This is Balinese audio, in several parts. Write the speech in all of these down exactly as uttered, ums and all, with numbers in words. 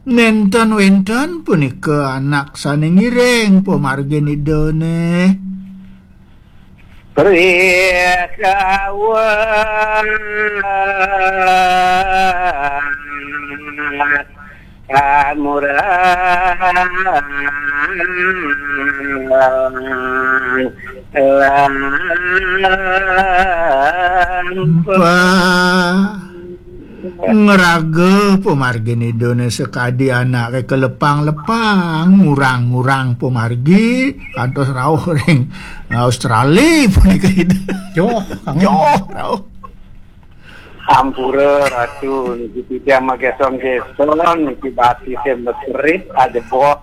Nénten wénten punika anak sané ngiring pamargin Idané. Rikawat kamurang lampah. Ngraga pamargin Idané sakadi anaké kalepang-lepang, ngurang-ngurang pamargi, kantos rauh ring Australia punika Ida. Joh, kangen. Joh, rauh. Ampura, Ratu, niki titiang magéson-géson, niki batisé meserit, ajebos.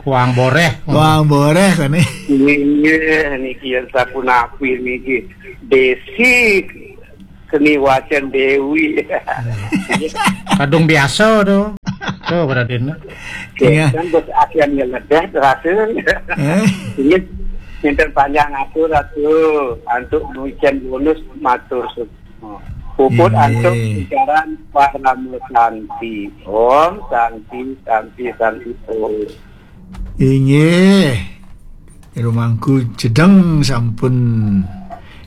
Kuang boréh. Kuang boréh, kani. Inggih, niki yén sapunapi niki. Dési keni wacén Déwi. Kadung biasa to. To, Raden. Iya. Kan bos akhirnya ledah terasa. Eh? Ini minta panjang atur, Ratu, antuk nucén bonus matur suksma. Puput antuk bicaran parama santi. Om santi, santi, santi, om. Inggih. Jero Mangku Jedeng sampun.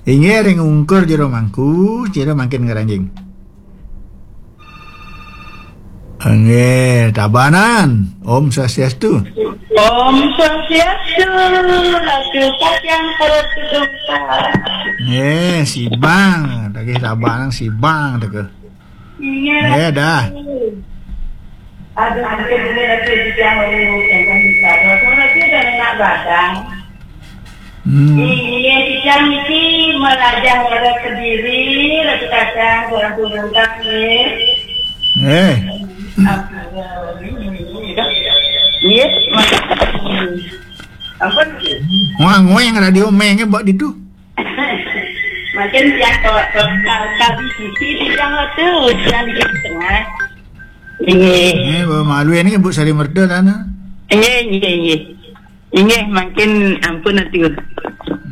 Inggih, ring ungkur Jero Mangku, Jero mangkin ngranjing. Inggih, Tabanan. Om Swastiastu. Om Swastiastu. Ratu Kacang Perut Kedungka. Nggih, Sibang. Tagih Tabanan Sibang teka. Iya. Iya, dah. Aduh, hampir bener aku di tiang lalu, yang kan bisa. Kalau lagi udah enak badan. Hmm. Iya, di tiang ini melajah orang Kediri, lagi kacang, orang turun kami. Eh. Iya, makasih. Ampun. Wah, ngoyang radio mengnya buat itu. Makin tiang kawat total kali sisi tiang tu, tiang di tengah. Inggih. Eh, bawa malu ini Bu Sari Merda sana. Inggih, inggih, inggih. Inggih, makin ampun atu.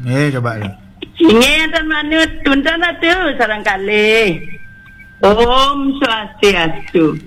Eh, coba lu. Inggih, enten manut, tuntun atu, sareng kalih. Om Swastiastu.